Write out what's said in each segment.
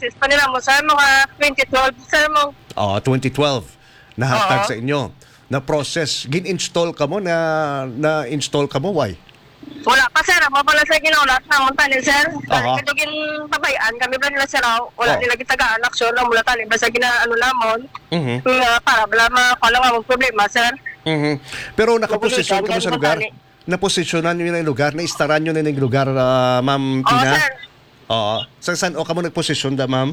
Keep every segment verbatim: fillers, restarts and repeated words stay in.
Sis pa nila mo, sir, mga twenty twelve, sir, mo. Oh, twenty twelve. Nahatag Oo. sa inyo. Na-process. Gin-install ka mo? Na, na-install ka mo? Why? Wala pa, sir. Amo pa lang sa ginahulat namon tani, sir. Aha. Kaya ito gintabayaan kami ba nila, sir, aw? Wala Oh. nila gitagaan aksyon. Amo na tani ba sa gina-, ano namon? Mhm. Nga para bala ma-, wala nga among problema, sir. Mhm. Pero nakaposisyon Mabuligan, ka mo sa ganun lugar? tani. Naposisyonan nyo na yung lugar? Naistaran nyo na yung lugar, ah, Ma'am Oo, Tina? sir. Oo. Sa san o kamo nagposisyon da, ma'am?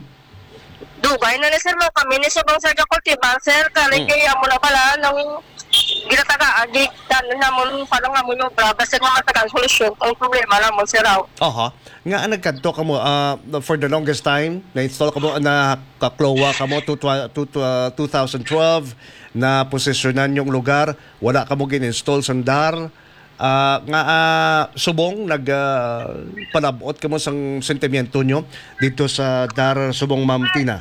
Dugay na ni sir, mo kami ni subong sa Gakultiban, sir. Kali Mm. kay amo na pala nang ginatagaan, gi-, ano namon, paano nga mo yung obra, basta nga matagaan solusyon ang problema namon, sir, aw. Aha. Nga ang nagkadto kamo, ah, for the longest time, na-install kamo, na kaklowa kamo to, to, to, to, ah, two thousand twelve, na posisyonan yung lugar, wala kamo gin-install sandar, ah, nga, ah, subong nag, ah, palabot kamo sang sentimiento nyo dito sa dar subong, Ma'am Tina?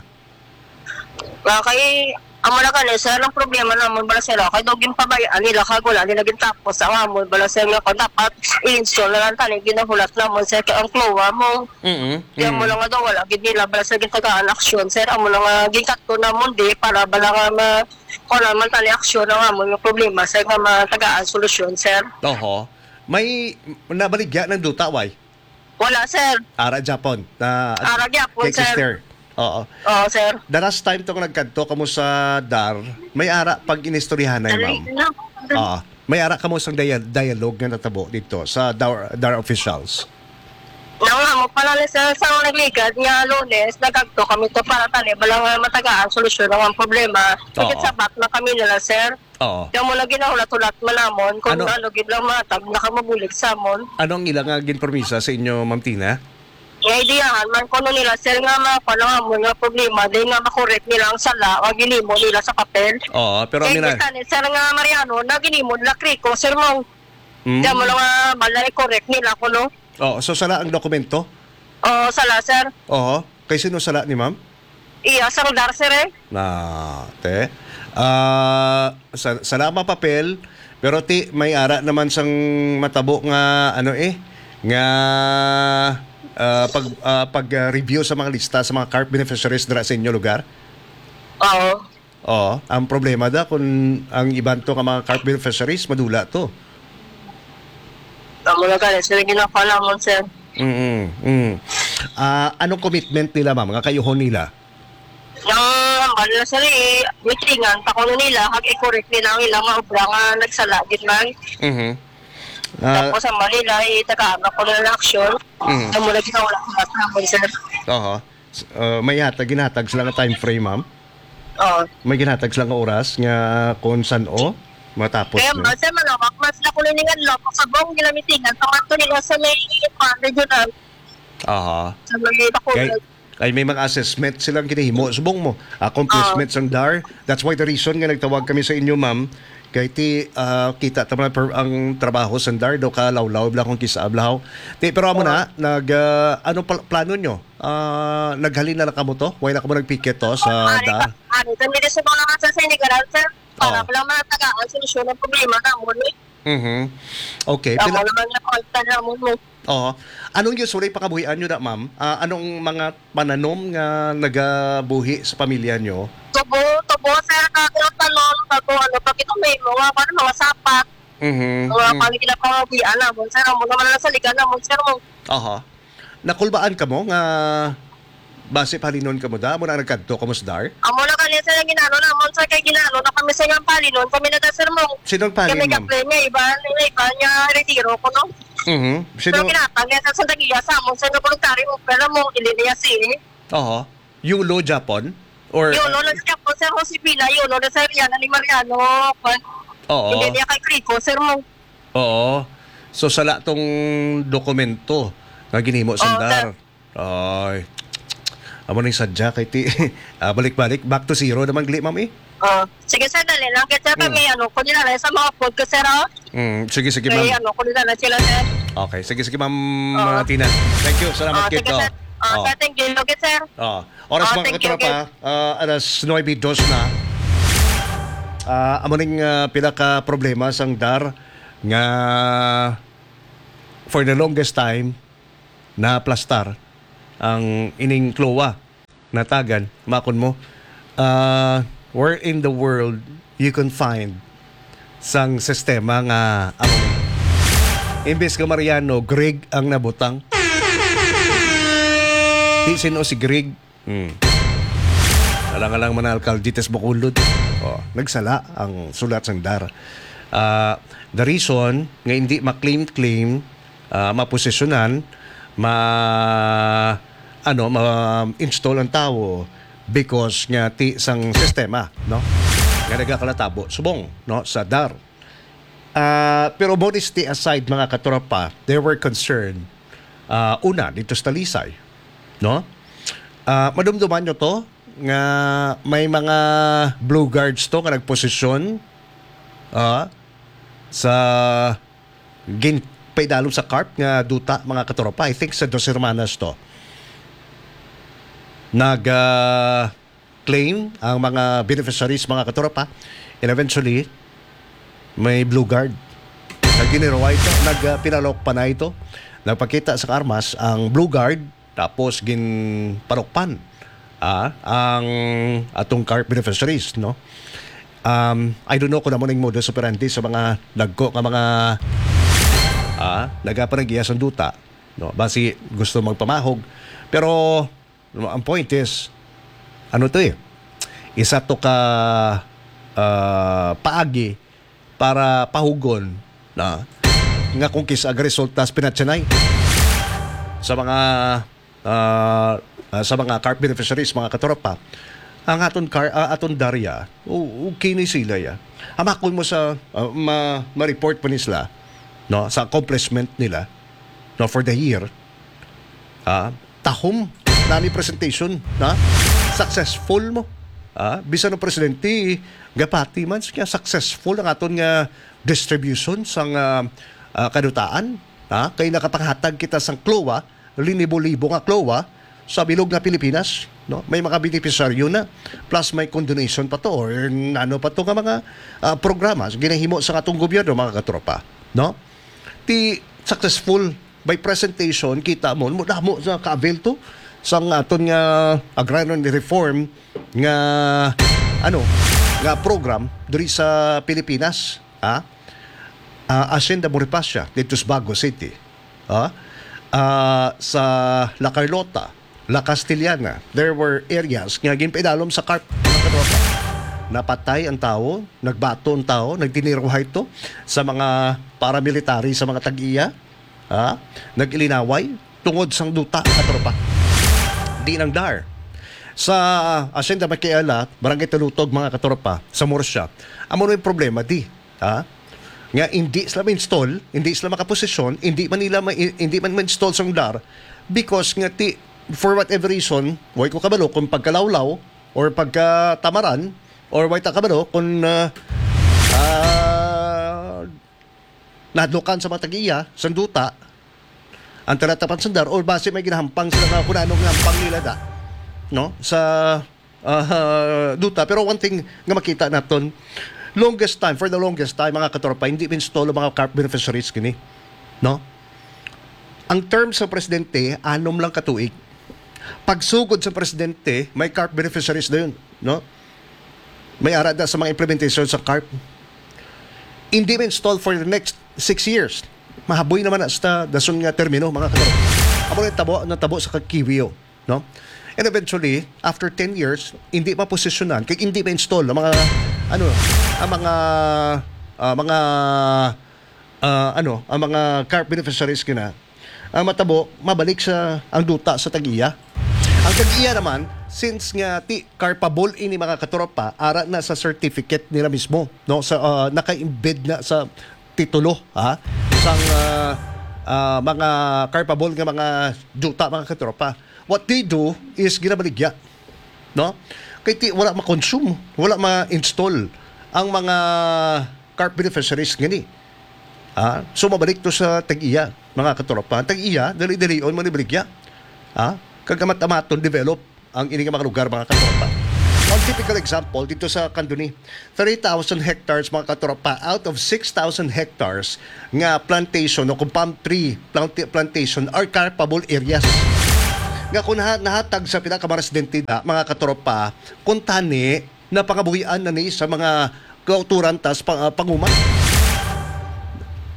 Ah, kay, amo na gani, sir, ang problema namon bala, sir, ah, kay daw ginpabayaan nila kag wala nila gintapos ang amon bala, sir, nga kung dapat i-install na lang tani ginahulat namon, sir, kay ang klowa mo. Mm-mm. Kaya mo Mm. lang nga daw, wala gid nila bala, sir, gintagaan aksyon, sir. Amo na nga ginkatto namon di para bala nga ma-, kung naman tani aksyon ang amon nga problema, sir, nga matagaan solusyon, sir. Oho. May nabaligya ng duta, why? Wala, sir. Ara Japon. Na Ara Japon, kay sir. Kister. Oo. Oo, sir. The last time to nga nagkadto kamo sa dar, may ara pag inistoryahanay, Dali ma'am. na. Oo. May ara kamo sang dia-, dialogue nga natabo dito sa dar, dar officials. Nang amo pala ni sir, sa nagligad nga Lunes, nagkadto kami to para tani bala nga matagaan solusyon ang problema. Sakit Oo. sabat na kami nila, sir. Oo. Kaya mo lang ginahulat-hulat man namon kung Ano? ano gid lang matag nakamabulig sa amon. Ano ang ila nga ginpromisa sa inyo, Ma'am Tina? Nga ideyahan man kuno nila, sir, nga ma-, kuno nga mo nga problema, di nga makorek nila ang sala nga ginimo nila sa papel. Oo, pero Kaya ang ina- kita ni, sir, nga Mariano, na ginimo nila Krico, sir, mo. Mm. Kaya mo lang nga bala i-correct nila kuno. Oo, so sala ang dokumento? Oo, sala, sir. Oo. Kay sino sala ni ma'am? Iya, sang dar, sir, eh. Na, te. Ah, sa, salamat papel, pero ti may ara naman sang matabo nga ano eh, nga ah, pag ah, pag ah, review sa mga lista sa mga carp beneficiaries dira sa inyo lugar. Oo. Oo, ang problema da kung ang iban to nga mga carp beneficiaries madula to. Amo na gani, sila ginakuha namon, sir. Mm, mm. Ah, anong commitment nila, ma'am, nga kayuhon nila? Nang hambal na sila, eh, meetingan pa kuno nila, kag i-correct nila ang ilang mga obra nga nagsala gid man. Mhm. Ah, Tapos ang nila, eh, tagaan pa kuno ng action. Mhm. Amo na ginahulat-hulat namon, sir. Oho. S-, ah, may hatag, ginhatag sila nga time frame, ma'am? Oo. May ginhatag sila nga oras nga kung san-o matapos Kaya na? Ba, sir, malawak man sila kuno ning adlaw, pagsabong nila meetingan, pamadto nila sa may, ah, regional. Aha. Sa may Bacolod. Kay, kay may mga assessment silang ginahimo. Subong mo, accomplishments ang dar. That's why the reason nga nagtawag kami sa inyo, ma'am. Kay ti, ah, kita ta man per-, ang trabaho sa dar, do ka lawlaw, bla kung kisa, blahaw. Ti, pero amo Oo. na, nag, ah, ano pal-, plano nyo? Ah, naghalin na lang kamo to? Why na kamo nagpiket to sa Ari, da? pa-, ari, kami din sa mga nasa Senegal, sir. Para Oo. Wala man tagaan solusyon ang problema namon, eh. Mhm. Okay, Amo pila naman nga pagtan namon, eh. Oo. Anong usually pakabuhian nyo na, ma'am? Ah, anong mga pananom nga nagabuhi sa pamilya nyo? Tubo, tubo, sir, kag tanom, kag kung ano pa kita may mga, ano, mga sapat. Mhm. Mga Mm. pang ginapangabuhian namon, sir. Amo naman ang saligan namon, sir, mo. Aha. Nakulbaan kamo nga base palinon kamo da, amo na nagkadto kamo sa dar? Amo na kani sa ginano namon, sa kay ginano na kami sa iyang palinon, kami na da, sir, mo. Sinong palin, Kami ma'am? Kaplay niya, iba, iba niya, retiro ko, no? Mhm. Pero Sino? Kinatang niya sa sandagiya sa amon, sa voluntary mo, pero mo, ili niya si. Oho. Yulo Japon? Or, Yulo uh, na siya po, sir, Josefina, Yulo na, sir, yan, ni Mariano, kwan. Oo. Hindi niya kay Krico, sir, mo. Oo. So, sala tong dokumento nga ginhimo Oo, sandar. Sir. Ay. Amo na yung sadya kay ti-, ah, balik-balik. Back to zero naman, gali, ma'am, eh. Oh, sige, sir, dali lang. Kasi, sir, Mm. kami, ano, ko nila lang sa mga food ko, sir, oh. Mm, sige, sige, Kaya, ma'am. Ano, ko nila lang sila, sir. Okay, sige, sige, ma'am, Oo. ah, Tina. Thank you. Salamat, Oh, kid, sige, oh. Sir. Oh, Oh. Sir, thank you. Okay, sir. Oh. Oras, Oh, mga thank you, katropa, okay. Ah, alas nuebe dos na. Ah, amo ning, ah, pila ka problema sang dar nga for the longest time, naplastar ang ining klowa. natagan, makon mo, ah, where in the world you can find sang sistema nga amo ni? Imbes ka Mariano, Greg ang nabutang. Di sino si Greg. Hmm. Alang-alang man alkalde tas Bacolod. Oh, nagsala ang sulat sang dar. Ah, the reason nga hindi ma-claim-claim, ah, maposisyonan, ma-, ano, ma-install ang tawo because nga ti sang sistema, no? Nga nagakalatabo subong, no, sa dar. Ah, pero modesty aside, mga katropa, they were concerned, ah, una, dito sa Talisay, no? Ah, madumduman nyo to, nga may mga blue guards to nga nagposisyon, ah, sa ginpaidalom sa CARP nga duta, mga katropa. I think sa Dos Hermanas to. Nag, ah, claim ang mga beneficiaries, mga katropa. And eventually, may blue guard. Nagdiniraway ito, nag, ah, pinalok pa na ito. Nagpakita sa armas ang blue guard, tapos ginpanukpan, ah, ang atong CARP beneficiaries, no? Um, I don't know kung ano ning modus operandi sa mga dagko nga mga, ah, nagapanag-iya sang duta, no? Basi gusto magpamahog. Pero ang point is, ano to eh? Isa to ka, ah, paagi para pahugon na nga kung kis-a resulta sa pinatsanay sa mga, ah, ah, sa mga CARP beneficiaries, mga katropa. Ang aton car, ah, aton Daria, o-, okay ni sila ya. Hamakon mo sa, ah, ma, ma-report pa ni sila, no, sa accomplishment nila, no, for the year. Ah, tahom na ni presentation, na successful mo. Ah, bisan ang presidente, gapati man siya, successful ang aton nga distribution sang, ah, ah, kadutaan, ha? Kay nakapanghatag kita sang klowa, linibo-libo nga klowa sa bilog nga Pilipinas, no? May mga beneficiaryo na, plus may condonation pa to, or ano pa to nga mga, ah, programa sa ginahimo sa atong gobyerno, mga katropa, no? Ti successful by presentation, kita mo, mo damo sa ka-avail to sang aton nga agrarian reform nga, ano, nga program diri sa Pilipinas, ha? Ah, Hacienda Bonifacia dito sa Bago City, ha? Ah, sa La Carlota, La Castellana, there were areas nga ginpaidalom sa CARP, mga katropa. Napatay ang tawo, nagbato ang tawo, nagdiniruhay to sa mga paramilitary, sa mga tag-iya, ha? Nag-ilinaway tungod sang duta, katropa. Di nang dar. Sa Hacienda Makiela, Barangay Talutog, mga katropa, sa Murcia, amo na yung problema, di. Ha? Nga hindi sila ma-install, hindi sila makaposisyon, hindi man nila ma-, hindi man ma-install sang dar because nga ti, for whatever reason, way ko kabalo kung pagkalawlaw or pagkatamaran or way ta kabalo kung, ah, ah, nadlukan sa mga tag-iya sang duta ang talatapan sang dar or basi may ginahampang sila nga kung ano nga hampang nila da, no? Sa ah, duta. Pero one thing nga makita naton, longest time, for the longest time, mga katropa, hindi ma-install ang mga CARP beneficiaries kini, no? Ang term sa presidente, anom lang ka tuig. Pagsugod sa presidente, may CARP beneficiaries na yun, no? May ara da sa mga implementation sa CARP. Hindi ma-install for the next six years. Mahaboy naman na sa dason nga termino, mga katropa. Amo na yung tabo, natabo sa Kiwio, no? And eventually, after ten years, hindi maposisyonan, kay hindi ma-install ang mga, ano, ang mga, ah, mga, ah, ano, ang mga CARP beneficiaries kina. Ang matabo, mabalik sa, ang duta sa tag-iya. Ang tag-iya naman, since nga ti carpable ini, mga katropa, ara na sa certificate nila mismo, no? Sa, ah, naka-embed na sa titulo, ha? Sang, ah, ah, mga carpable nga mga duta, mga katropa. What they do is ginabaligya, no? Kay ti, wala ma-consume, wala ma-install ang mga CARP beneficiaries ngani. Ah, so mabalik to sa tag-iya, mga katropa. Ang tag-iya, dali-dalion manibaligya. Ah, kag amat-amaton develop ang ini nga mga lugar, mga katropa. One typical example dito sa Candoni, thirty thousand hectares, mga katropa, out of six thousand hectares nga plantation o kung palm tree planti-, plantation are carpable areas. nga kung naha-, nahatag sa pila ka mga residente na, mga katropa, kung tani, napangabuhian na ni sa mga kauturan tas pa-, ah, panguma.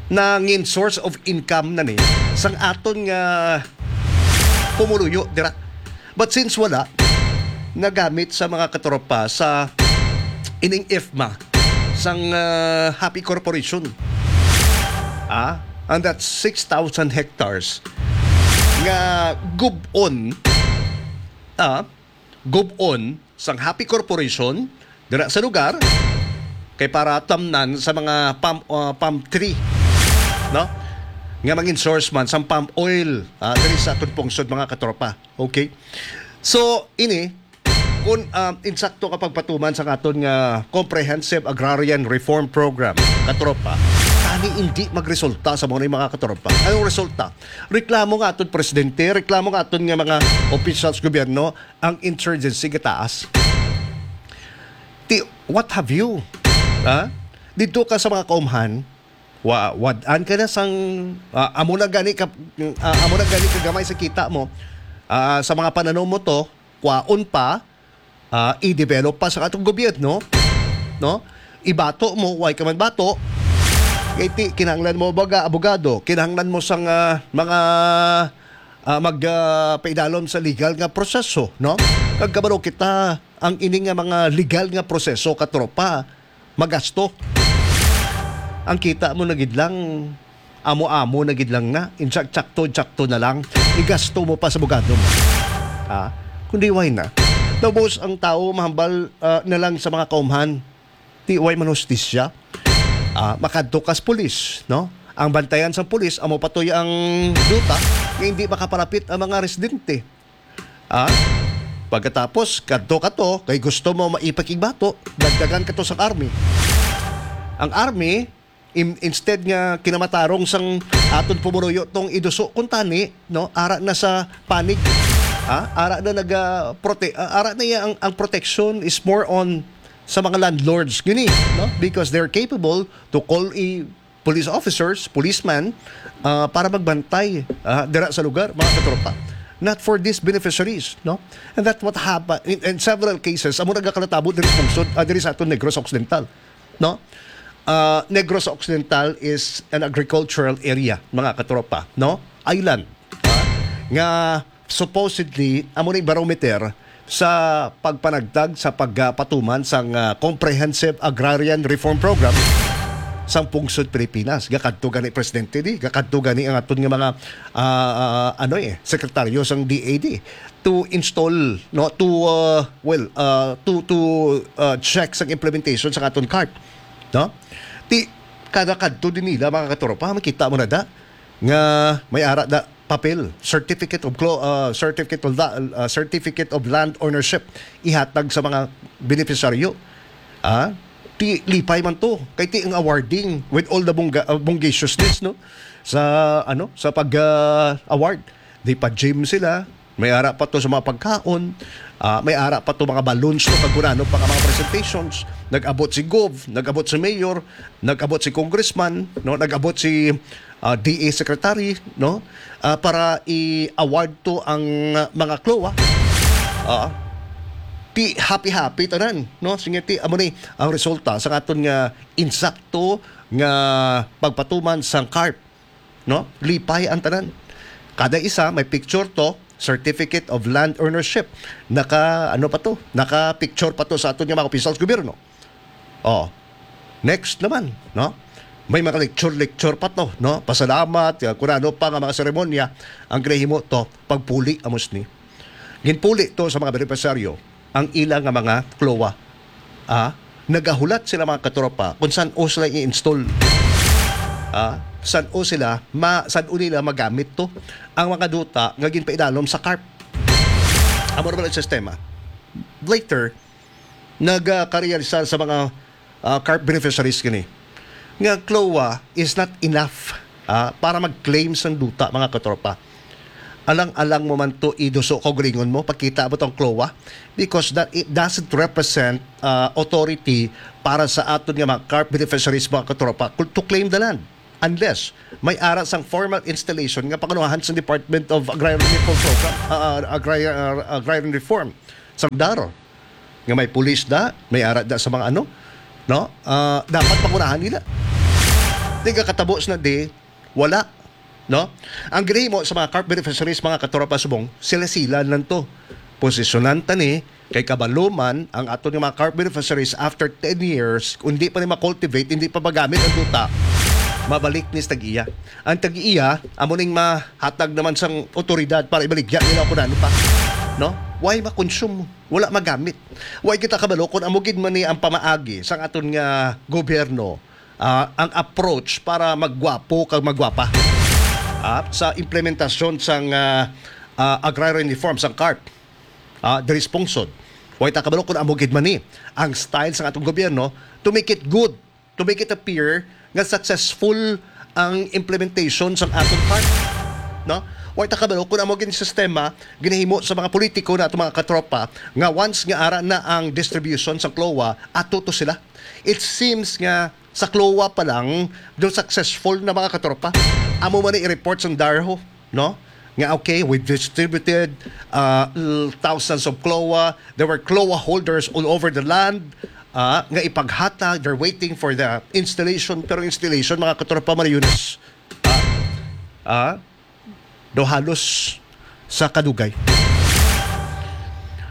Nangin source of income na ni sang aton nga pumuluyo dira. But since wala, nagamit sa mga katropa sa ining ifma sang, ah, Happy Corporation. Ah, and that's six thousand hectares nga gub-on, ah, gub-on sang Happy Corporation dira sa lugar kay para tamnan sa mga palm, ah, palm tree, no? Nga mangin source man sang palm oil, ah, diri sa aton pungsod, mga katropa. Okay? So, ini, kung, ah, insakto ka pagpatuman sa aton nga Comprehensive Agrarian Reform Program, katropa, tani hindi magresulta sa mga, mga katropa. Anong resulta? Reklamo nga aton presidente, reklamo nga aton nga mga officials gobyerno, ang insurgency gataas. Ti, what have you? Ha? Dito ka sa mga kaumhan, wa, wad-an ka na sang, ah, amo na gani ka, ah, amo na gani ka gamay sa kita mo, ah, sa mga pananom mo to, kwaon pa, ah, i-develop pa sa atong gobyerno, no? Ibato mo, way ka man bato. Kay ti, kinahanglan mo baga abogado, kinahanglan mo sang, ah, mga, ah, mag, ah, paidalom sa legal nga proseso, no? Kag kabalo kita, ang ini nga mga legal nga proseso, katropa, magasto. Ang kita mo na gid lang, amo-amo na gid lang na, insakto-sakto na lang, igasto mo pa sa abogado mo. Ha? Kundi why na? Tapos ang tao mahambal, ah, na lang sa mga kaumhan, ti way man hustisya. Ah, makadto kas pulis, no? Ang bantayan sa pulis, amo patoy ang duta nga hindi makapalapit ang mga residente. Ah? Pagkatapos, kadto ka to, kay gusto mo maipakigbato, dagdagan ka to sa army. Ang army, im-, instead nga kinamatarong sang aton pumuruyo tong iduso, kung tani, no? Ara na sa panig. Ah? Ara na nag, ah, prote-, ah, ara na iya ang, ang protection is more on sa mga landlords gini, no? Because they're capable to call a police officers, policeman, ah, para magbantay, ah, dira sa lugar, mga katropa. Not for these beneficiaries, no? And that's what happened in, in several cases. Amo nagakalatabo diri sa pungsod, ah, diri sa aton Negros Occidental, no? Ah, Negros Occidental is an agricultural area, mga katropa, no? Island, ah, nga supposedly, amo ni barometer sa pagpanagtag sa pagpatuman sang, ah, Comprehensive Agrarian Reform Program sang pungsod Pilipinas. Gakadto gani presidente di, gakadto gani ang aton nga mga, ah, ah, ano eh, sekretaryo sang D A D to install, no, to, ah, well, ah, to, to, ah, check sang implementation sa aton CARP, no? Ti, kada kadto din nila, mga katropa, makita mo na da nga may ara da papel, certificate of clo-, ah, certificate of la-, ah, certificate of land ownership ihatag sa mga benepisyaryo. Ah, ti lipay man to kay ti ang awarding with all the bongga-, ah, bonggacious-ness, no, sa, ano, sa pag, ah, award. Di pa gym sila, may ara pa to sa mga pagkaon, ah, may ara pa to mga balloons to kag kunano pa nga mga presentations. Nag-abot si Gov, nag-abot si Mayor, nag-abot si Congressman, no, nag-abot si, ah, D A Secretary, no, ah, para i-award to ang, ah, mga CLOA. Ah, ti happy-happy tanan, no? Sige, ti amo ni ang resulta sa aton nga insakto nga pagpatuman sang CARP, no? Lipay ang tanan. Kada isa may picture to, certificate of land ownership. Naka, ano pa to? Naka picture pa to sa aton nga mga opisyal sa gobyerno. Oh. Next naman, no? May mga lecture-lecture pa to, no? Pasalamat, uh, kung ano pa nga mga seremonya ang ginahimo to, pagpuli, amos ni. Ginpuli to sa mga benepisyaryo ang ila nga mga CLOA. Ah, nagahulat sila, mga katropa, kung san-o sila i-install. Ah, san-o sila, ma-, san-o nila magamit to ang mga duta nga ginpaidalom sa CARP. Amo naman ang sistema. Later, nagkarealisar sa mga, ah, CARP beneficiaries kini nga CLOA is not enough, ah, para mag-claim sang duta, mga katropa. Alang-alang mo man to iduso kaugalingon mo, pakita mo tong CLOA, because that it doesn't represent, ah, authority para sa aton nga mga CARP beneficiaries, mga katropa, to claim the land. unless may ara sang formal installation nga pangunahan sa Department of Agrarian Reform Program, ah, Agri-, ah, Agrarian Reform, sang DAR, nga may pulis da, may ara da sa mga ano, no? Ah, dapat pangunahan nila. Di ka katabo sa na di, wala, no? Ang ginahimo sa mga carp beneficiaries, mga katropa subong, sila-sila lang to. Posisyonan ta ni, kay kabalo man ang aton nga mga carp beneficiaries after ten years, kung di pa ni ma-cultivate, hindi pa magamit ang duta, mabalik ni sa tag-iya. Ang tag-iya, amo ning mahatag naman sang otoridad para ibaligya nila kung ano pa. No? Why ma-consume? Wala magamit. Why kita kabalo kung amo gid man ni ang pamaagi sang aton nga gobyerno, ah, ang approach para magwapo kag magwapa, ah, sa implementasyon sang, ah, ah, agrarian reform sang carp, ah, diri sa pungsod. Why ta kabalo kung amo gid man ni ang style sang atong gobyerno to make it good, to make it appear nga successful ang implementation sang aton carp, no? Why ta kabalo kung amo gid sistema ginahimo sa mga politiko na atong mga katropa nga once nga ara na ang distribution sa CLOA, ato to sila. It seems nga sa CLOA pa lang, do successful na, mga katropa. Amo man ni i-report sang DAR ho, no? Nga, okay, we distributed, uh, l-, thousands of CLOA. There were CLOA holders all over the land, uh, nga ipaghatag. They're waiting for the installation. Pero installation, mga katropa, Mariunas, ah, ah, do halos sa kadugay.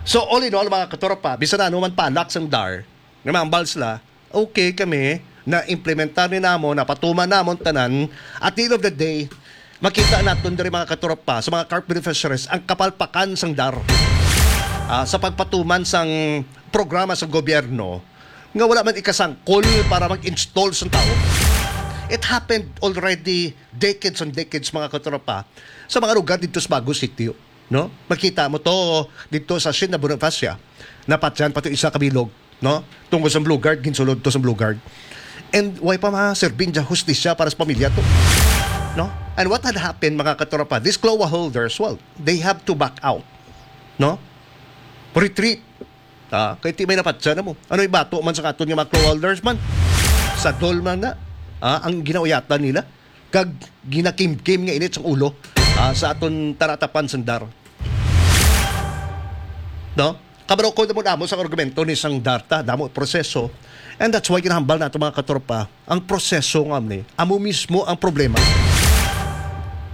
So, all in all, mga katropa, bisan ano man palak sang DAR, nga mahambal sila, okay kami, na-implementar ni namo, napatuman namon tanan. At the end of the day, makita naton diri, mga katropa, sa mga carp beneficiaries, ang kapalpakan sang DAR, ah, sa pagpatuman sang programa sa gobyerno nga wala man ikasangkol para mag-install sang tao. It happened already decades and decades, mga katropa, sa mga lugar dito sa Bago Sitio, no? Makita mo to dito sa Hacienda Bonifacia. Napatyan pa to isa ka bilog, no? Tungod sa Blue Guard, ginsulod to sa Blue Guard. And why pa maserbing dyan hustisya para sa pamilya to? No? And what had happened, mga katropa? These CLOA holders, well, they have to back out, no? Retreat. Ah, kay ti may napatsa na mo. Ano ibato man sa katon nga mga CLOA holders man? Sa dol man na, ah, ang ginauyatan nila. Kag ginakimkim nga init sa ulo, ah, sa aton taratapan sang DAR. No? Kabalo ko damo-damo sa argumento ni sang DAR ta, damo proseso. And that's why ginahambal nato, mga katropa, ang proseso nga ni, amo mismo ang problema.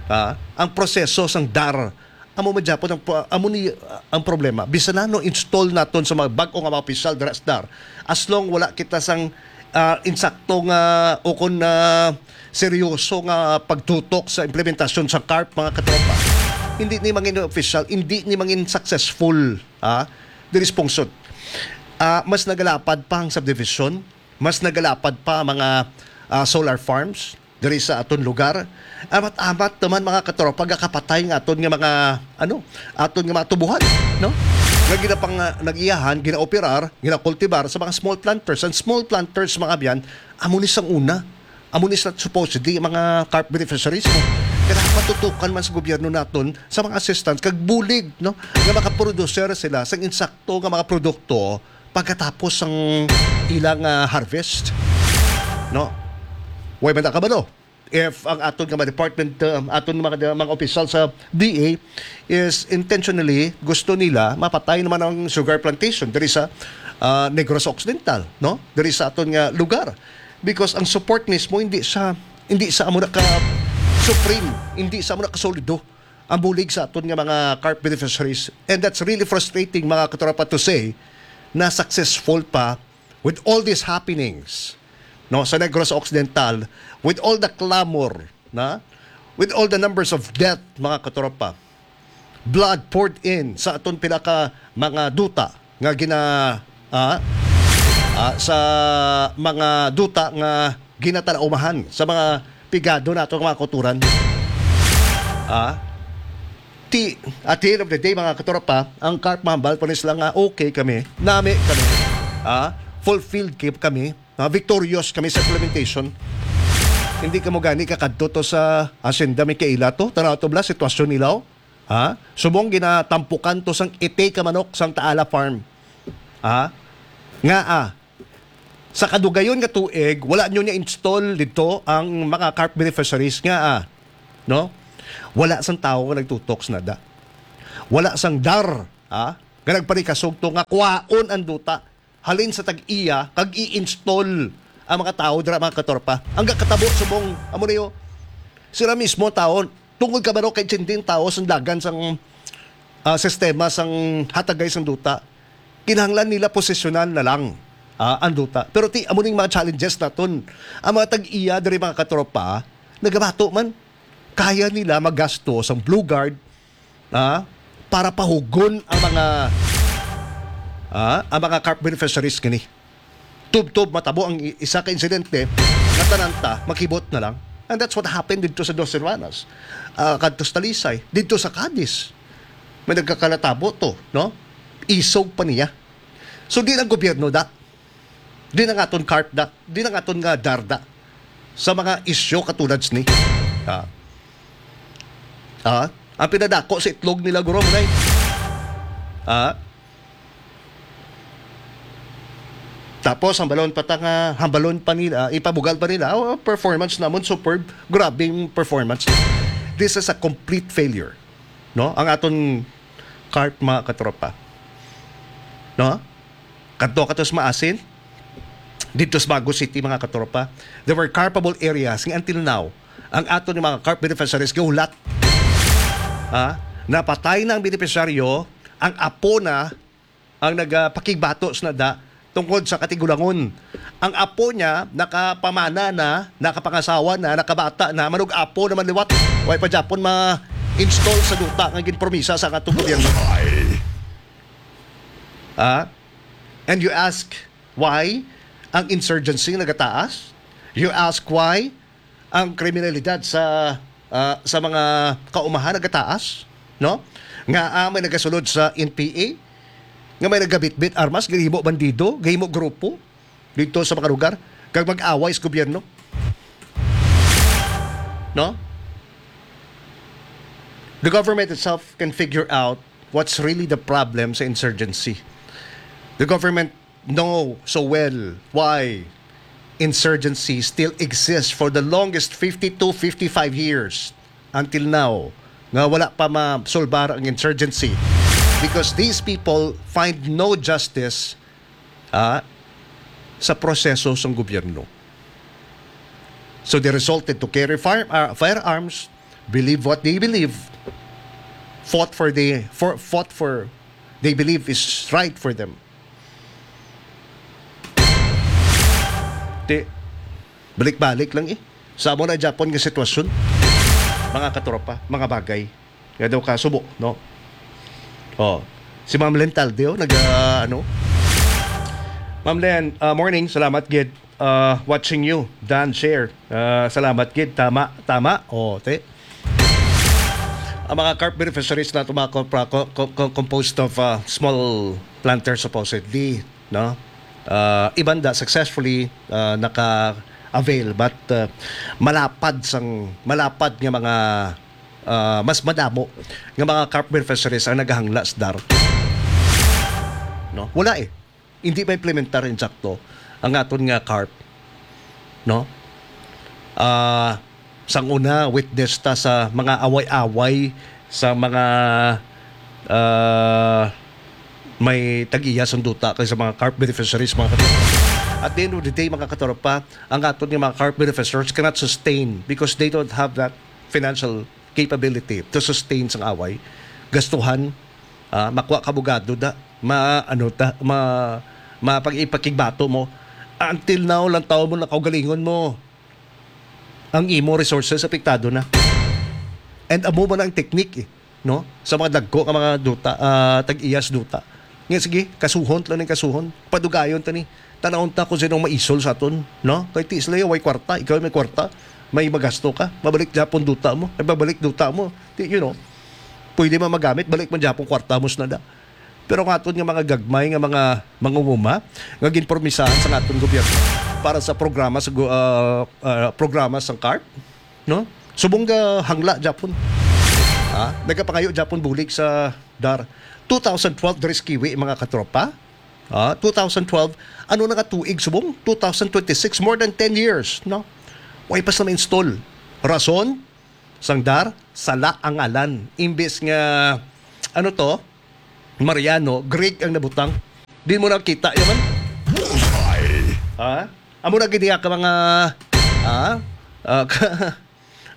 Ah, ang proseso sang DAR, amo magyapon ang pro-, amo ni, ah, ang problema. Bisan na no install naton sa mga bag-o nga mga opisyal dira sa DAR, as long wala kita sang, ah, insakto nga o kon, ah, seryoso nga pagtutok sa implementasyon sa CARP, mga katropa, hindi ni mangin official, hindi ni mangin successful, ah, diri sa pungsod. Ah, mas nagalapad pa ang subdivision, mas nagalapad pa ang mga, ah, solar farms diri sa aton lugar. Amat-amat naman, mga katropa, gakapatay nga aton nga mga, ano, aton nga mga tubuhan, no? Nga ginapang, ah, nag-iyahan, ginaoperar, ginakultibar sa mga small planters. Ang small planters, mga abyan, amo ni sang una. Amo ni sa supposedly mga CARP beneficiaries mo. Kaya patutukan man sa gobyerno naton sa mga assistance kag bulig, no? Nga makaproducer sila sang insakto nga mga produkto pagkatapos sang ilang, ah, harvest, no? Way man ta kabalo if ang aton nga mga department, um, aton mga, mga opisyal sa D A is intentionally gusto nila mapatay naman ang sugar plantation diri sa, ah, Negros Occidental, no? Diri sa aton nga lugar. Because ang support mismo hindi sa, hindi sa amo na ka supreme, hindi sa amo na ka solido ang bulig sa aton nga mga CARP beneficiaries. And that's really frustrating, mga katropa, to say na successful pa with all these happenings, no, sa Negros Occidental, with all the clamor, na, with all the numbers of death, mga katropa, blood poured in sa aton pila ka mga duta nga gina-, ah, ah, sa mga duta nga ginatalaumahan sa mga pigado nato nga mga kauturan. Ah, ti-, at the end of the day, mga katropa, ang CARP mahambal pa ni sila nga okay kami, nami kami, ah, fulfilled ki-, kami, ah, victorious kami sa implementation. Hindi kamo gani kakadto to sa Hacienda Micaela to, tanaw to bala sitwasyon nila, oh. Ha? Subong ginatampukan to sang iti ka manok sang Taala Farm. Ha? Nga, ah, Sa kadugayon nga tuig, wala nyo niya install dito ang mga carp beneficiaries nga, ah, no? Wala sang tawo nga nagtutok sa nada. Wala sang dar, ah, nga nagparikasog to nga kwaon ang duta halin sa tag-iya kag i-install ang mga tawo dira, mga katropa. Ang gakatabo subong amo niyo, sila mismo tawo, tungod ka baro kay tinding tawo sang dagan sang, ah, sistema sang hatagay sang duta, kinahanglan nila posesyonan na lang, ah, ang duta. Pero ti amo ning mga challenges naton. Ang mga tag-iya diri, mga katropa, nagabato man, kaya nila magasto sang Blue Guard, ah, para pahugon ang mga, ah, ang mga carp beneficiaries kini. Tubtob matabo ang i- isa ka insidente nga tanan ta makibot na lang. And that's what happened dito sa Dos Hermanas, ah, kadto sa Talisay, dito sa Cadiz. May nagkakalatabo to, no? Isog pa niya. So, di lang gobyerno da. Di na nga aton carp da. Di na nga aton nga dar da. Sa mga isyu katulad sini. Ah. Ah, ang pinadako sa itlog nila, guro, mo, nay. Ah. Tapos, hambalon pa ta nga, hambalon pa nila, ipabugal pa nila, "Oh, performance namon, superb, grabing performance." This is a complete failure, no? Ang aton carp, mga katropa. No? Kadto ka to sa Maasin, dito sa Bago City, mga katropa, there were carpable areas nga until now, ang aton nga mga carp beneficiaries gahulat. Ha? Napatay na ang benepisyaryo, ang apo na ang nagapakigbato sa nada tungkod sa katigulangon. Ang apo niya nakapamana na, nakapangasawa na, nakabata na, manug-apo naman liwat. Way pa gyapon ma-install sa duta nga ginpromisa sa atong gobyerno. Ah? And you ask why ang insurgency nagataas? You ask why ang kriminalidad sa, ah, sa mga kaumahan nagataas, no? Nga, ah, may nagasulod sa N P A, nga may nagabitbit armas, gahimo bandido, gahimo grupo dito sa mga lugar, kag mag-away sa gobyerno. No? The government itself can figure out what's really the problem sa insurgency. The government know so well why insurgency still exists for the longest fifty-two, fifty-five years until now, nga wala pa masulbar ang insurgency, because these people find no justice, ah, sa proseso sang gobyerno. So they resulted to carry fire, ah, firearms, believe what they believe, fought for the for fought for they believe is right for them. Ti, balik-balik lang eh. Sa amo na gyapon nga sitwasyon, mga katropa, mga bagay nga daw kasubo, no? Oh, si Ma'am Len Talde, oh, nag, ah, ano? Ma'am Len, ah, morning. Salamat gid. Ah, watching you. Dan, share. Ah, salamat gid. Tama, tama. Oh, te. Ang mga carp beneficiaries na tumakot pa, co-, co-, co-, composed of, ah, small planters supposedly, no? Ah, iban da successfully, ah, naka-avail, but, ah, malapad sang, malapad nga mga, ah, mas madamo nga mga carp beneficiaries ang nagahangla sa dar. No? Wala eh. Hindi ma-implementar insakto ang aton nga carp. No? Ah, sang una, witness ta sa mga away-away sa mga, ah, may tag-iya sang duta kay sa mga carp beneficiaries, mga katropa. At the end of the day, mga katropa, ang aton nga mga carp beneficiaries cannot sustain because they don't have that financial capability to sustain sang away. Gastuhan, ah, makuha ka abogado da, ma-, ano ta, ma-, mapag-, ipakigbato mo. Until now, lang tawo mo, nakaugalingon mo. Ang imo resources apektado na. And amo man ang technique, eh, no? Sa mga dagko nga mga duta, ah, tag-iyas duta. Nga sige, kasuhon lang ning kasuhon. Padugayon ta ni. Tanawon ta kung sino ang maisol sa aton, no? Kay ti sila way kwarta, ikaw may kwarta, may magasto ka, mabalik gyapon duta mo, ay babalik duta mo. Ti, you know, pwede man magamit, balik man gyapon kwarta mo sa nada. Pero ang aton nga mga gagmay nga mga mangunguma nga ginpromisahan sa aton gobyerno para sa programa sa gu-, ah, ah, programa sang carp, no? Subong nga hangla gyapon. Ha? Nagapangayo gyapon bulig sa dar. Two thousand twelve diri sa Kiwi, mga katropa. Ah, two thousand twelve, ano na nga tuig subong? Two thousand twenty-six, more than ten years, no? Way pa sila ma-install. Rason, sang dar, sala ang ngalan. Imbis nga, ano to? Mariano, Greek ang nabutang. Di mo nakita yaman? Bullseye! Ha? Amo na gid ka mga, ha? Ah, ka,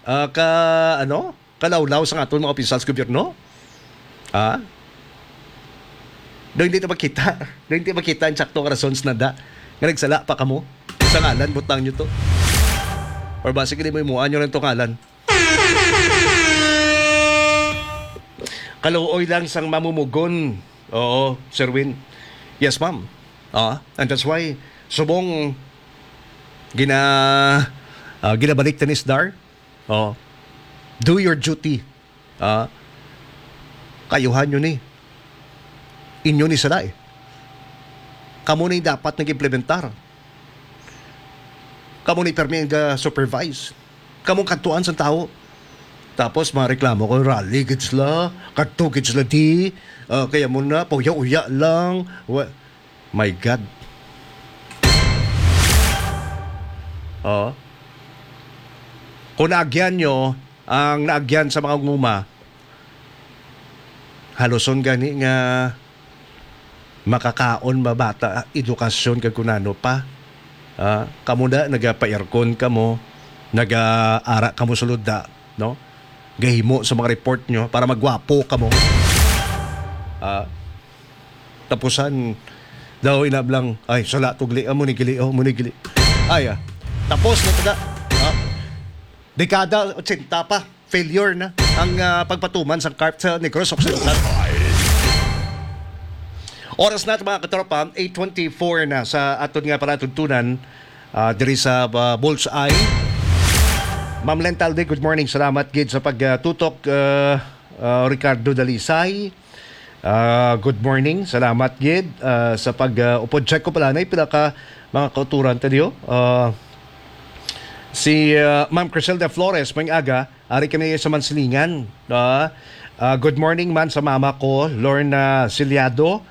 ah, ka, ano? Kalawlaw sa aton mga opisyal sa gobyerno? Ha? Do hindi ta makita. Do hindi makita ang sakto nga rason sa nanda nga nagsala pa kamo sa ngalan, butang nyo to. Or ba, sige, di mo imuan nyo lang itong ngalan. Kaluoy lang sang mamumugon. Oo, Sir Win. Yes, ma'am. Ah, and that's why, subong gina, ah, ginabalik ta ni Sdar. Oh. Do your duty. Ah, kayuhan nyo ni. Inyo ni sila eh. Kamo ni dapat nag-implementar. Kamo ni permi nga supervise. Kamo kadtuan sa tao. Tapos mareklamo ko, rally gid sila, kadto gid sila di, ah, kaya mo na, pauya-uya lang. Wa-, my God. Oh. Kung naagyan nyo ang naagyan sa mga nguma, haluson gani nga makakaon ba bata, edukasyon kag kunano pa. Ah, kamo na, nagapa-aircon kamo, nagaara kamo sulod da, no? Gahimo sa mga report nyo para magwapo kamo. Ah, tapusan daw inablang, ay, sala tugli, amo ni gili, oh, amo ni gili. Ay, ah, tapos na taga, ah, dekada ochenta pa, failure na ang, ah, pagpatuman sang CARP sa Negros Occidental. Oras na, mga katropa, eight twenty-four na sa aton nga palatuntunan, ah, diri sa, ah, Bullseye. Ma'am Len Talde, good morning. Salamat gid sa pagtutok, ah, ah, Ricardo Dalisay. Ah, good morning. Salamat gid, ah, sa pag, ah, upod. Check ko pala na pila ka mga kauturan ta diyo. Ah, si, ah, Ma'am Criselda Flores, maayong aga. Ari kami sa Mansilingan. Ah, ah, good morning man sa mama ko, Lorna Ciliado,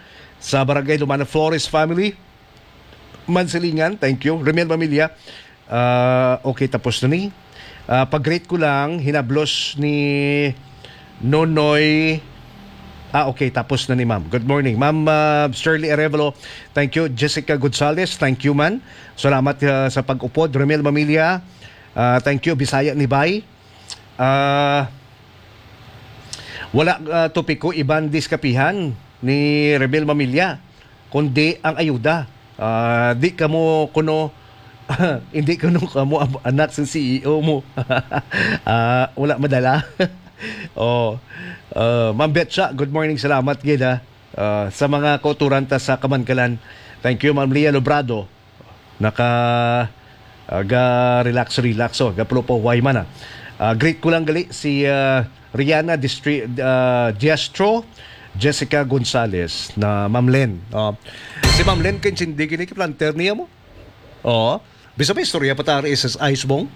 sa Barangay Lumana Flores family. Mansilingan, thank you. Remel Mamilya, ah, okay, tapos na ni. Ah, pag-greet ko lang, hinablos ni Nonoy. Ah, okay, tapos na ni ma'am. Good morning, ma'am, ah, Shirley Arevalo. Thank you, Jessica Gonzalez. Thank you, man. Salamat, ah, sa pag-upod. Remel Mamilya, ah, thank you, Bisaya ni Bay. Ah, wala, ah, topiko iban diskapihan ni Rebel Mamilya, kundi ang ayuda. Ah, di kamo kuno, hindi kuno kamo ab-, anak sa C E O mo. Ah, wala madala. Oh, ah, Ma'am Betcha, good morning. Salamat gid, ha. Ah, sa mga kauturan ta sa Kamankalan. Thank you, Ma'am Lia Lobrado. Naka, ah, ga-relax, relax, oh, ga-flow pa, why man, ah. Ah, greet ko lang gali si, ah, Rihanna Distri-, ah, Diestro, Jessica Gonzalez, na Ma'am Len. Oh. Si Ma'am Len, kay hindi gini planter niya mo. Oh. Bisa pa istorya pa ta R S S I subong.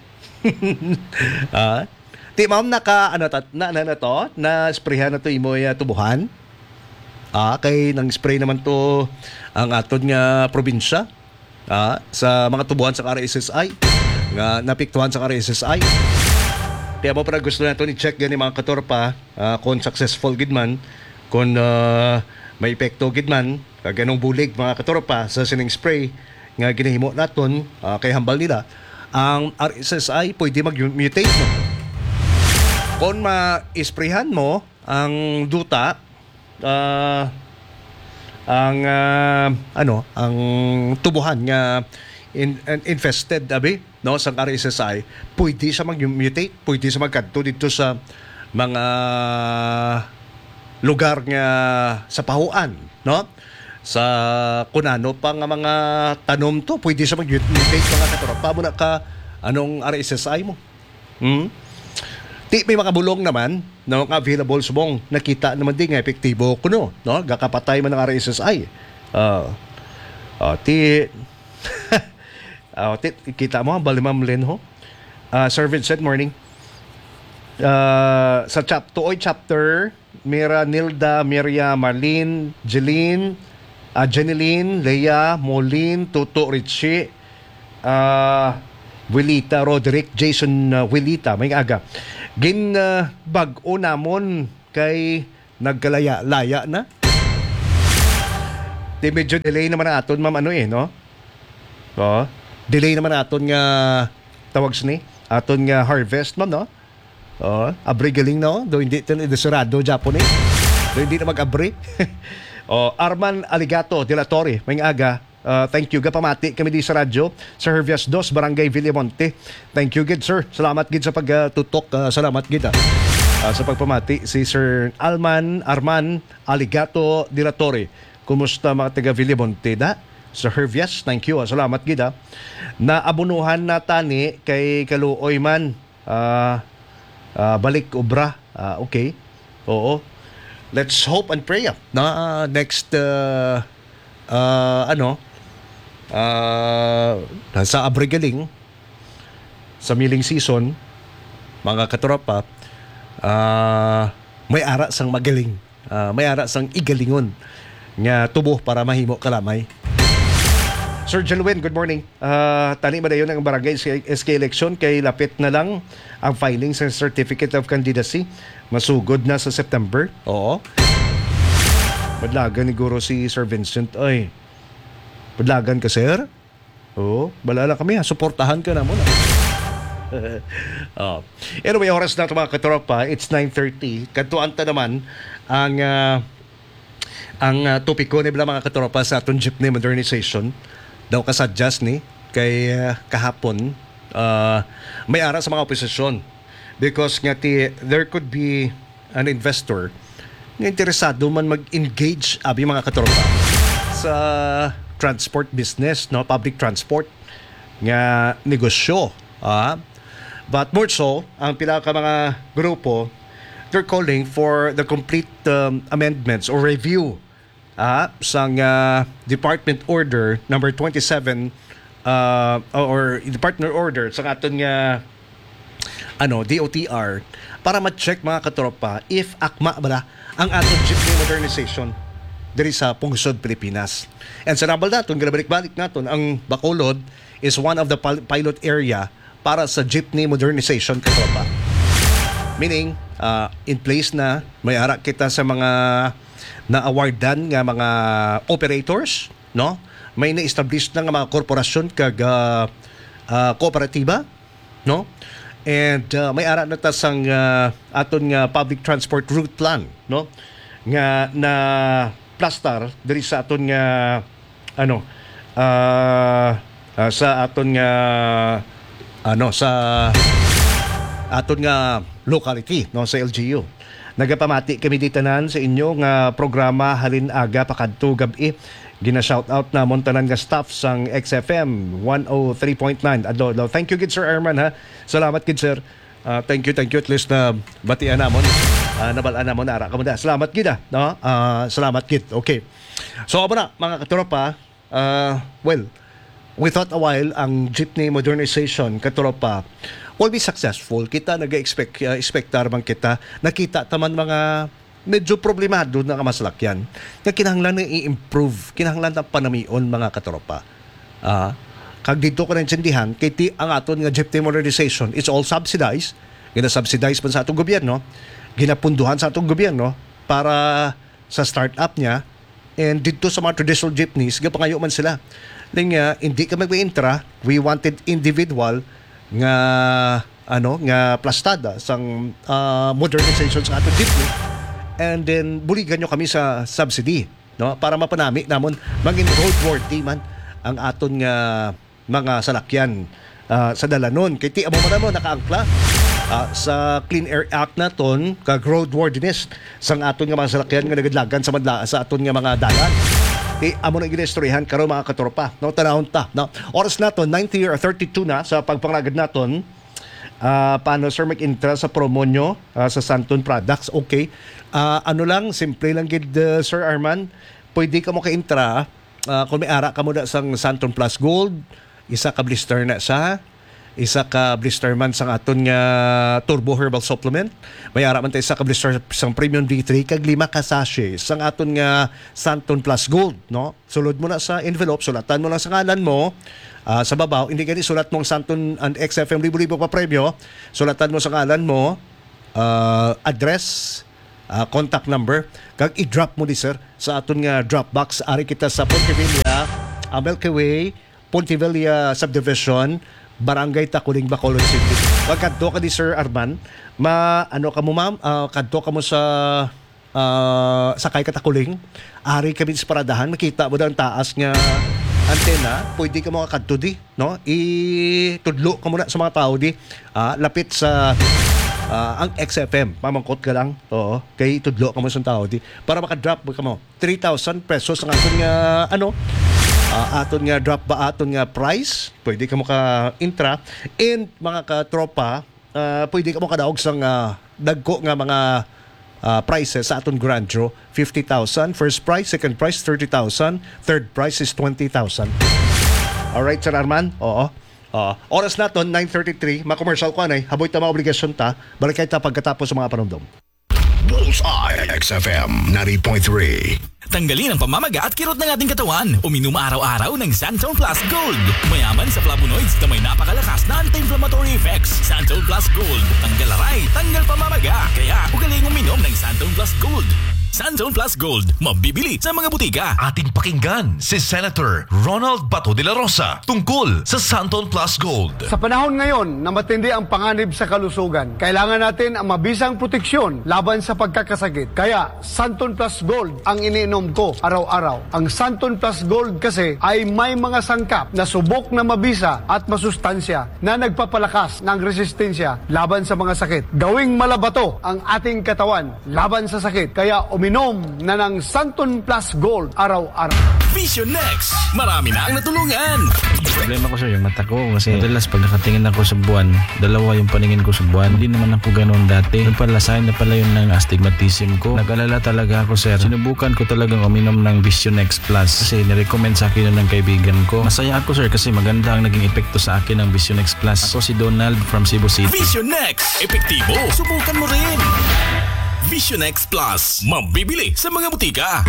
Ah. Ti, ma'am, naka, ano, ta-, na, na, na to? Na-sprayhan na to imo, ah, tubuhan? Ah, kay nang spray naman to ang aton nga probinsya, ah, sa mga tubuhan sa R S S I nga napiktuhan sa R S S I. Kaya mo pala gusto nato ni check gani, mga katropa, ah, kung successful gid man, kung, ah, may epekto gid man, kag anong bulig, mga katropa, sa sining spray nga ginahimo naton, ah, kay hambal nila ang R S S I pwede mag-mutate, no? Kung ma-sprayhan mo ang duta, ah, ang, ah, ano, ang tubuhan nga in-, infested, abi, no, sang R S S I, pwede siya mag-mutate, pwede siya magkadto dito sa mga lugar nga sa pahuan, no? Sa kunano pa nga mga tanom to, pwede siya mag-mutate, mga katropa. Amo na ka, anong R S S I mo? Hmm? Ti, may mga bulong naman, no, nga available subong. Nakita naman din nga epektibo kuno, no? Gakapatay man ang R S S I. Ah. Ah, ti, ah, ti, kita mo, bali, Ma'am Len, ho? Ah, Sir Vincent, morning. Ah, sa chap-, Tuoy chapter, Mira, Nilda, Miria, Marlene, Jeline, Ah, Jeneline, Lea, Molin, Tuto, Richie, ah, Wilita, Roderick, Jason, ah, Wilita, may aga. Gin, ah, bag-o namon kay nagkalaya-laya na. Di medyo delay naman ang aton, ma'am, ano eh, no? Oh, delay naman ang aton nga tawag sini, aton nga harvest, ma'am, no? Oh, abri galing, no? Do hindi tan desirado Japon eh. Do hindi na mag-abri. Oh, Arman Aligato de la Torre, may aga. Ah, thank you. Gapamati kami di sa radyo sa Hervias Dos, Barangay Villamonte. Thank you gid, sir. Salamat gid sa pagtutok. Ah, salamat gid, ah. Ah, sa pagpamati si Sir Alman Arman Aligato de la Torre. Kumusta mga taga Villamonte da? Sa Hervias, thank you, ah. Salamat gid, ah. Naabunuhan na tani kay kaluoy man. Ah, ah, balik obra. Ah, okay. Oo. Let's hope and pray, ah, na, ah, next, ah, ah, ano, ah, sa abrigaling, sa milling season, mga katropa, ah, may ara sang magaling. Ah, may ara sang igalingon nga tubo para mahimo kalamay. Sir Jelwin, good morning. Ah, tani ba dayon ang barangay S K election kay lapit na lang ang filing sa Certificate of Candidacy? Masugod na sa September? Oo. Madlagan ni Guro si Sir Vincent. Ay, madlagan ka, sir? Oo, bala lang kami, ha? Suportahan ka namon, ha? Oh. Anyway, oras na ito, mga katropa. It's nine thirty. Kadtuan ta naman ang, ah, ang, ah, topiko ni bala, mga katropa, sa aton jeepney modernization. Daw kasadya sini kay, ah, kahapon, ah, may ara sa mga oposisyon. Because nga ti, there could be an investor nga interesado man mag-engage, abi, mga katropa, sa transport business, no, public transport nga negosyo, ah. But more so, ang pila ka mga grupo, they're calling for the complete, um, amendments or review, ah, sang, ah, Department Order number twenty-seven, ah, or Department Order sa aton nga, ano, D O T R, para ma-check, mga katropa, if akma bala ang aton jeepney modernization diri sa pungsod Pilipinas. And sa nabal naton, ginabalik-balik naton, ang Bacolod is one of the pil-, pilot area para sa jeepney modernization, katropa. Meaning, ah, in place na, may ara kita sa mga na-awardan nga mga operators, no? May na-establish na nga mga korporasyon kag, ah, ah, kooperatiba, no? And, ah, may ara na ta sang, ah, aton nga public transport route plan, no? Nga na plastar diri sa aton nga, ano, ah, ah, sa aton nga, ano, sa aton nga locality, no, sa L G U. Nagapamati kami di tanan sa inyo nga programa halin aga pakadto gab-i. Gina-shout out namon tanan nga staff sang X F M one oh three point nine. Adlaw, adlaw. Thank you gid, Sir Arman, ha. Salamat gid, sir. Ah, thank you, thank you. At least na batian namon. Ah, nabal-an namon, ara ka mo na. Salamat gid, ah, no? Ah, salamat gid. Okay. So, amo na, mga katropa. Ah, well, we thought a while ang jeepney modernization, katropa, will be successful. Kita nag-expect, ah, expectar man kita. Nakita ta man mga medyo problemado na nga masalakyan nga kinahanglan na i-improve, kinahanglan na panamion, mga katropa. Ah, kag dito ko naintindihan, kay ti, ang aton nga jeepney modernization, it's all subsidized. Gina-subsidize man sa atong gobyerno, ginapunduhan sa atong gobyerno para sa startup niya, and dito sa mga traditional jeepneys, gapangayo man sila. Ning, ah, hindi ka mag-intra, we wanted individual nga, ano, nga plastada sang, ah, modernization sa aton jeepney. And then, buligan nyo kami sa subsidy, no? Para mapanami namon, maging roadworthy man ang aton nga mga salakyan, ah, sa dalanon. Kay ti amo man mo nakaangkla, ah, sa Clean Air Act naton, kag roadworthiness sang aton nga mga salakyan nga nagadlagan sa madla-, sa aton nga mga dalan. Ti amo na ginistoryahan karon, mga katropa, no? Tanawon ta, no? Oras naton, ninety or thirty-two na sa pagpangalagad naton. Ah, paano, sir, mag-intra sa promo nyo, ah, sa Santon Products? Okay. Ah, ano lang, simple lang gid, uh, Sir Arman. Pwede ka mo ka-intra, ah, kung may ara ka mo na sang Santon Plus Gold, isa ka blister na sa, Isa ka blister man sang aton nga Turbo Herbal Supplement. May ara man ta isa ka blister sang Premium D three kag lima ka sachet sang aton nga Santon Plus Gold, no? Sulod mo na sa envelope, sulatan mo lang sa ngalan mo. Ah, sa babaw, hindi gani sulat mo ang Santon and X F M libo-libo pa premyo. Sulatan mo sa ngalan mo, ah, address, ah, contact number, kag i-drop mo di, sir, sa aton nga drop box. Ari kita sa Ponte Villa, ah, Milky Way, Ponte Villa Subdivision, Barangay Taculing, Bacolod City. Pag kadto ka di, Sir Arman, ma-, ano ka mo, ma'am? Ah, kadto ka mo sa, ah, sakay ka Taculing. Ari kami sa paradahan, makita mo daw ang taas nga antena. Pwede ka mo kadto di, no? Itudlo ka muna sa mga tao di. Ah, lapit sa, ah, ang X F M. Mamangkot ka lang. Oo. Kay itudlo ka mo sa tao di. Para makadrop ka mo. Three thousand pesos ang aton nga, ano, ah, aton nga drop ba, aton nga price. Pwede ka mo ka-intra. And mga katropa, ah, pwede ka mo kadaog sang, ah, dagko nga mga, ah, prizes sa aton grand draw. Fifty thousand, first prize, second prize, thirty thousand, third prize is twenty thousand. Alright, Sir Arman? Oo. Oo. Oras naton, nine thirty-three. Ma-commercial ko, anay. Haboy ta mga obligasyon ta. Balik kay ta pagkatapos sa mga panumdom. Bullseye, X F M ninety point three. Tanggalin ang pamamaga at kirot ng ating katawan. Uminom araw-araw ng Santon Plus Gold. Mayaman sa flavonoids na may napakalakas na anti-inflammatory effects. Santon Plus Gold. Tanggal aray, tanggal pamamaga. Kaya ugaling uminom ng Santon Plus Gold. Santon Plus Gold. Mabibili sa mga butika. Ating pakinggan si Senator Ronald Bato de la Rosa tungkol sa Santon Plus Gold. Sa panahon ngayon na matindi ang panganib sa kalusugan, kailangan natin ang mabisang proteksyon laban sa pagkakasakit. Kaya, Santon Plus Gold ang iniinom ko araw-araw. Ang Santon Plus Gold kasi ay may mga sangkap na subok na mabisa at masustansya na nagpapalakas ng resistensya laban sa mga sakit. Gawing malabato ang ating katawan laban sa sakit. Kaya uminom na ng Santon Plus Gold araw-araw. Vision Next. Marami na ang natulungan. Problema ko, sir, yung mata ko. Kasi madalas pag nakatingin ako sa buwan, dalawa yung paningin ko sa buwan. Hindi naman ako ganun dati. Yung pala, sign na pala yun ng astigmatism ko. Nag-alala talaga ako, sir. Sinubukan ko talagang uminom ng Vision X Plus kasi nirecommend sa akin yun ng kaibigan ko. Masaya ako, sir, kasi maganda ang naging epekto sa akin ng Vision X Plus. Ako si Donald from Cebu City. Vision X. Epektibo. Subukan mo rin. Vision X Plus. Mabibili sa mga butika.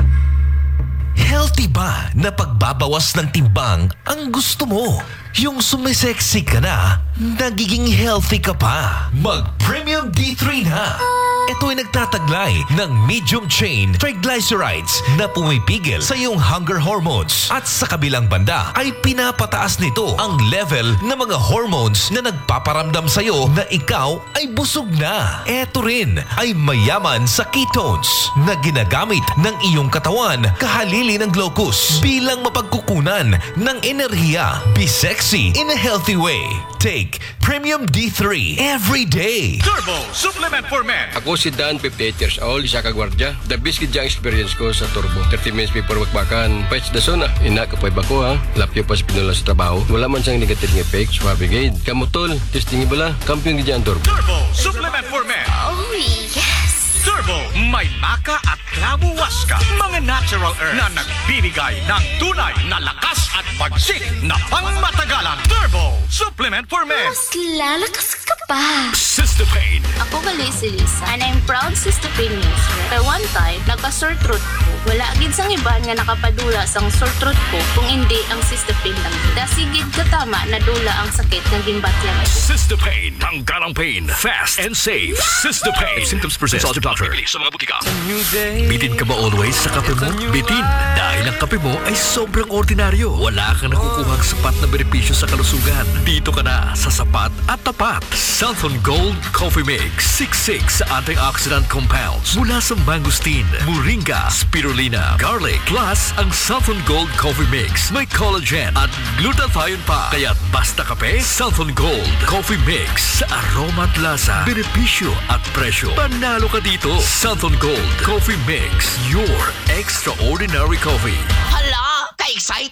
Healthy ba na pagbabawas ng timbang ang gusto mo? Yung sumisexy ka na, nagiging healthy ka pa. Mag Premium D three na. Ito ay nagtataglay ng medium chain triglycerides na pumipigil sa iyong hunger hormones. At sa kabilang banda ay pinapataas nito ang level ng mga hormones na nagpaparamdam sa iyo na ikaw ay busog na. Eto rin ay mayaman sa ketones na ginagamit ng iyong katawan kahalili ng glucose bilang mapagkukunan ng enerhiya. Be sexy in a healthy way. Take Premium D three every day. Turbo Supplement for Men. Ako si Dan, fifty-eight years old, isa ka gwardiya. The best gid ang experience ko sa Turbo. Thirty minutes before bakbakan, pets the zone ah. Ina, kapoy ba ko ha? Lapyo pa sa pinula sa trabaho. Wala man siyang negative nga effect. Suabe gid. Kamutol, testing bala. Kampiyon gid ang Turbo. Turbo Supplement for Men. Oh, yes! Turbo, may maca at clavo huasca. Mga natural herbs na nagbibigay ng tunay na lakas at bagsik na pangmatagalan. Turbo Supplement for Men. Mas lalakas ka pa. Sister Pain. Ako gali si Lisa, and I'm proud Sister Pain user. Pero one time, nagka-sore throat ko. Wala gid sang iban nga nakapadula sang sore throat ko kung indi ang Sister Pain lang. Dasig gid katama nadula ang sakit nga ginbatyan ko. Sister Pain. Tanggal ang pain. Fast and safe. Sister Pain. If symptoms persist, consult your doctor. Sa mga butika. Bitin ka ba always sa kape mo? Bitin, dahil ang kape mo ay sobrang ordinaryo. Wala kang nakukuhang sapat na benepisyo sa kalusugan. Dito ka na sa sapat at tapat. Santon Gold Coffee Mix, siksik sa antioxidant compounds mula sa mangosteen, moringa, spirulina, garlic. Plus, ang Santon Gold Coffee Mix may collagen at glutathione pa. Kaya't basta kape, Santon Gold Coffee Mix. Sa aroma at lasa, benepisyo at presyo, panalo ka dito. Santon Gold Coffee Mix, your extraordinary coffee. Hala, ka-excite